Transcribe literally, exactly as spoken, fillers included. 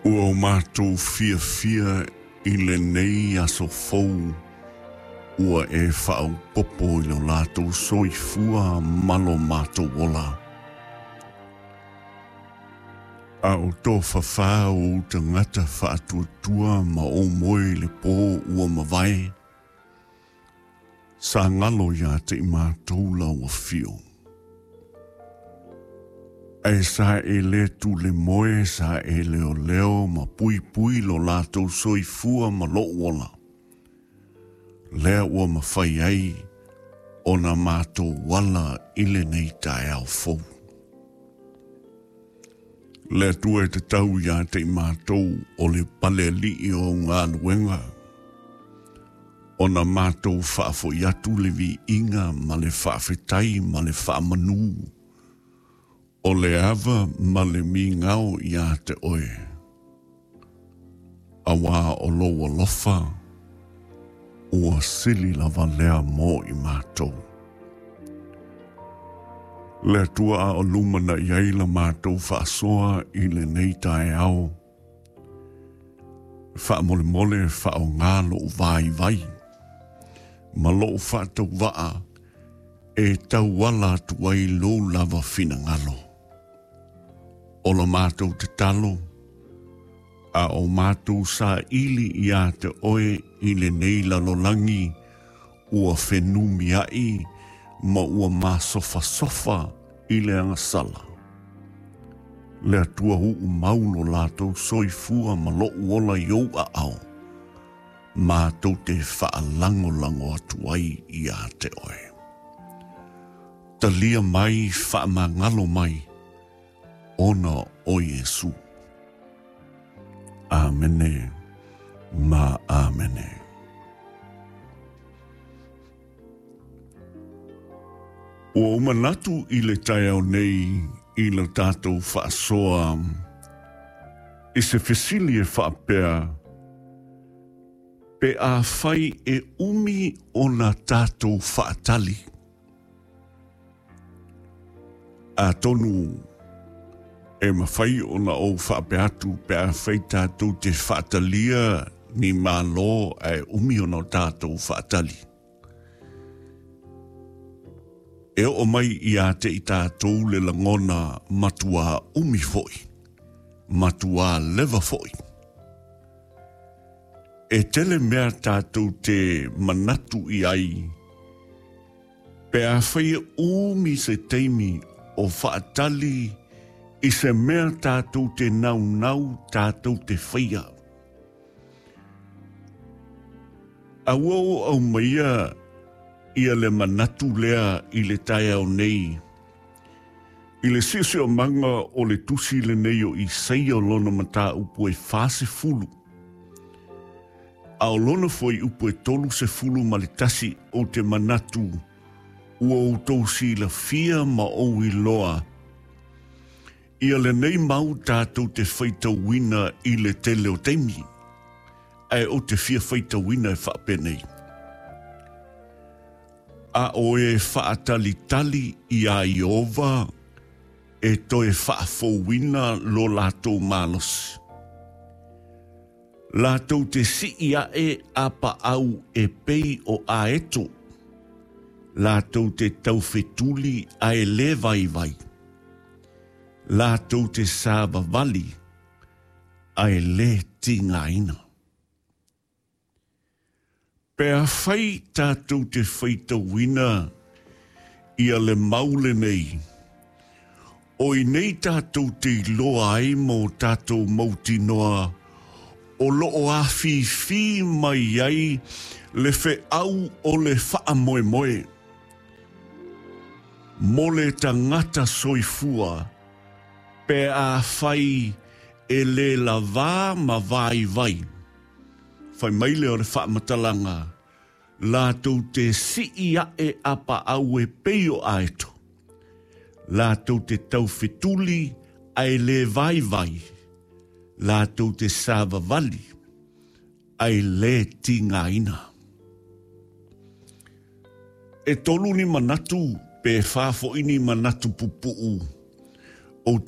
Ua o mātou fiafia i lenei aso fou, ua e faaopopo i lo latou soifua ma lo matou ola. A o tofafā o ou tagata faatuatua ma ou moe i le pō ua mavae, sa galo iā te i matou lau afio. Ae sa e lē tule moe, sa e leoleo ma puipui lo latou soifua ma lou ola. Lea ua mafai ai ona matou ala i lenei taeao fou. Le Atua e tatau iā te i matou o le palealii o galuega, ona matou faafo'i atu le viiga ma le faafetai ma le faamanū, o le ava ma le migao iā te oe. Auā o lou alofa, ua sili lava lea mo i matou. Le Atua a o lumana'i ai la matou faasoa i lenei taeao, faamolemole faaaogā lo'u vaivai ma lo'u faatauvaa e tauala atu ai lou lava finagalo. O la matou tatalo, a o matou saili iā te oe i lenei lalolagi ua fenumia'i ma ua masofasofa i le agasala. Le Atua uu mau lo latou soifua ma lo'u ola i ou aao, matou te faalagolago atu ai iā te oe. Talia mai, faamagalo mai, ona o Iesu. Amene ma amene. Ua ou manatu i le taeao nei i le tatou faasoa i se fesili e faapea, pe afai e umi ona tatou faatali. Atonu e mafai ona ou faapea atu pe afai tatou te faatalia ni Malo ae umi ona o tatou faatali. E oo mai iā te i tatou le lagona matuā umi fo'i, matuā leva fo'i. E tele mea tatou te manatu i ai, pe afai e umi se taimi o faatali i se mea tatou te naunau tatou te faia. A ua ou aumaia ia le manatu lea i le taeao nei, i le siosiomaga o le tusi lenei o Isaia o lona mataupu e fasefulu, a o lona fuaiupu e tolusefulu ma le tasi, ou te manatu ua outou silafia ma ou iloa ia lenei mau tatou te faitauina i le tele o taimi, ae ou te fia faitauina e faapenei. A o e faatalitali iā Ieova e toe faafouina lo latou malosi. Latou te sii ae apaau e pei o aeto, latou te taufetuli ae lē vaivai, latou te savavali ae lē tigaina. Pe afai tatou te faitauina ia le mau lenei, o i nei tatou te iloa ai ma o tatou mautinoa o loo afifi mai ai le feau o le faamoemoe mo le tagata soifua, pe afai e lē lavā ma vaivai. Fai mai lea o le faamatalaga, latou te sii ae apaau e pei o aeto, latou te taufetuli ae lē vaivai, latou te savavali ae lē tigaina. E tolu ni manatu pe fā fo'i ni manatu pupuu